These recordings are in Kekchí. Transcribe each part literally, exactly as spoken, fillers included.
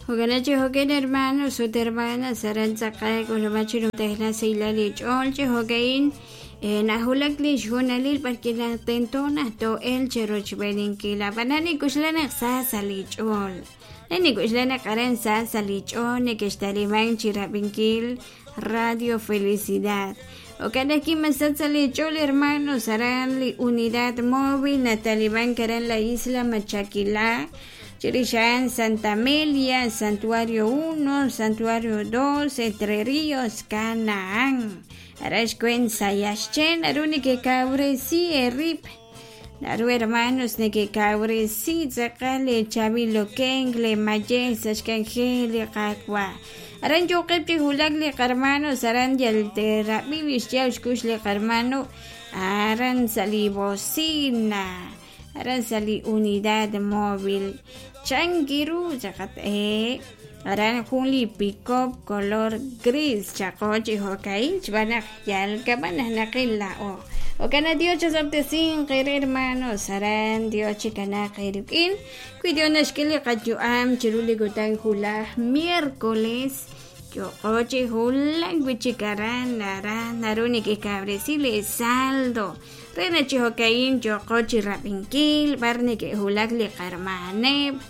Jo'kan chi jo'kan hermanos ut hermanas aran tz'aqal k'ulub'aj chi numtajenaq sahilal li ch'ool chi jo'ka'in najulak li xhoonalil b'arwi' naq tento naq too'elq chi rochb'eeninkil ab'anan nik'uxla naq sa sa' li ch'ool re nik'uxla naq aran sa sa' li ch'ool neke'xtaliman chi rab'inkil Radio Felicidad jo'kan ajwi' masach sa' li ch'ool hermanos aran li unidad móvil natalimank aran la isla Machaquilá chirix a'an Santa Amelia, Santuario uno, Santuario dos, Entre Ríos, Canaán aran xweent Sayaxchen naru nekekawresi eerib' naru hermanos nekekawresi tz'aqal leechaab'il okenk leemayej sa' xk'anjel li Qaawa' aran yo'qeb' chi wulak li qarmanos aran yal te'rab'i li xyaab' xkux li qarmano aran sa' li bocina aran sa' li unidad móvil chankiru chaqat eh aran jun li pick-up color gris chaqo chi jo'ka'in xb'aan naq yal kab'an naq naqil laa'o jo'kan naq Dios chasob'tesinq eere hermanos aran Dios chikanaaq eerik'in wi Dios naxk'e li qayu'am chiru li kutan wulaj miércoles yo'qo chi wulak wi'chik aran aran naru nekekawresi li saldo re naq chi jo'ka'in yo'qo chi rab'inkil b'ar neke'wulak li qarmaneb'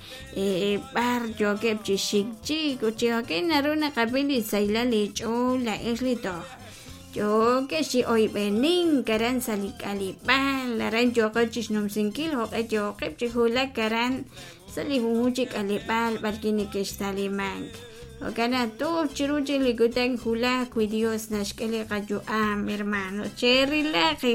b'ar yookeb' chi xik chik ut chi jo'ka'in naru naqab'i li sahilal li ch'ool la'ex li toj yookex chi oyb'enink aran sa' li k'aleb'aal aran yooqo chixnumsinkil jo'q'e yooqeb' chi wulak aran sa' li junjunq chi k'aleb'aal b'arwi' neke'xtalimank jo'kan naq toj chiru chik li kutan wulaj wi Dios naxk'e li qayu'am hermano cherilaq.